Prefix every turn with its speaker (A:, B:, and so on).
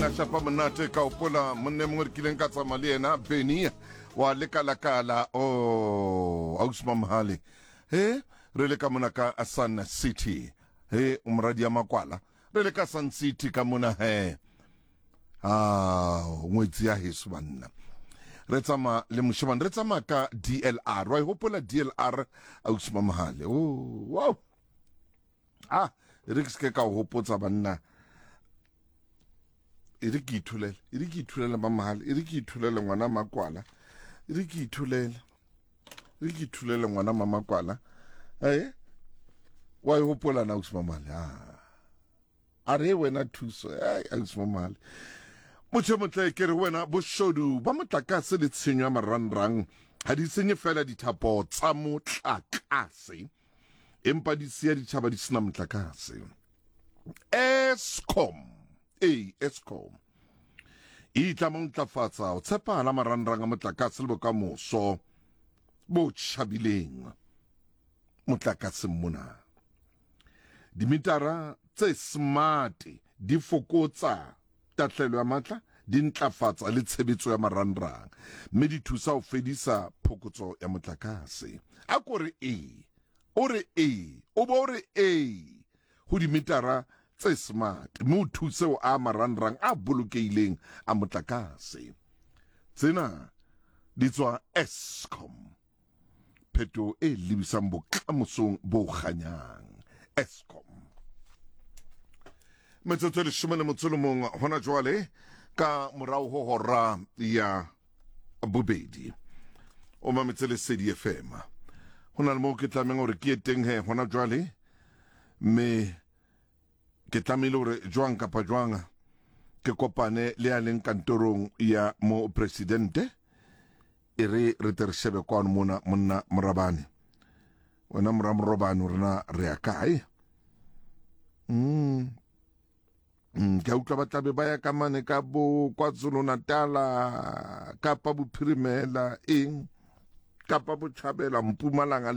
A: Monna shapa monate ka opola monne mongwe re kileng ka tsamaya le yena Benny wa lekalakala o oh, ausi Mamhale he re le ka mona ka Sun City he o moradi ya makwala re le ka Sun City ka mona he a ngwetsi ya heso banna re tsamaya le moshemane re tsamaya ka DLR wa e hopola DLR ausi Mamhale oh wow ah e re ke seke ka o gopotsa banna e re ke ithulele e re ke ithulele mamahale e re ke ithulele ngwana makwala e re ke ithulele e re ke ithulele ngwana mamakwala ee wa e gopola na ausi mamahale a a re wena thuso ai ausi mamahale motho motle ke re wena boshodu ba motlakase le tshenyo ya marangrang ga di senye fela dithapo tsa motlakase empa di siya ditšhaba di sena motlakase. Eskom, ee Eskom e itlama ho ntlafatsa ho tshepahala marangrang a motlakase le bokamoso bo tjhabileng motlakaseng mona. Dimitara tse smart di fokotsa tahlehelo ya matla, di ntlafatsa le tshebetso ya marangrang mme di thusa ho fedisa phokotso ya motlakase. A ko re ee, o re ee, o bo o re ee ho dimitara tse smart mme o thuse ho aha marangrang a bolokehileng a motlakase. Tsena di tswa Eskom. Phetoho e lebisang bokamosong bo kganyang. Eskom. Metsotso e leshome le motso le mong hona jwale ka morao ho hora ya bobedi. O mametse Lesedi FM. Ho na le moo ke tlameng hore ke ye teng he hona jwale mme ke tlamehile hore jwang kapa jwang ke kopane le ya leng kantorong ya mo presidente e re re tle re shebe kwano mona monna morabane wena mora morobane hore na re ya kae mm. Mm, ke a utlwa ba tlabe ba ya ka mane ka bo KwaZulu-Natala kapa bophirimela eng kapa botjhabela Mpumalanga.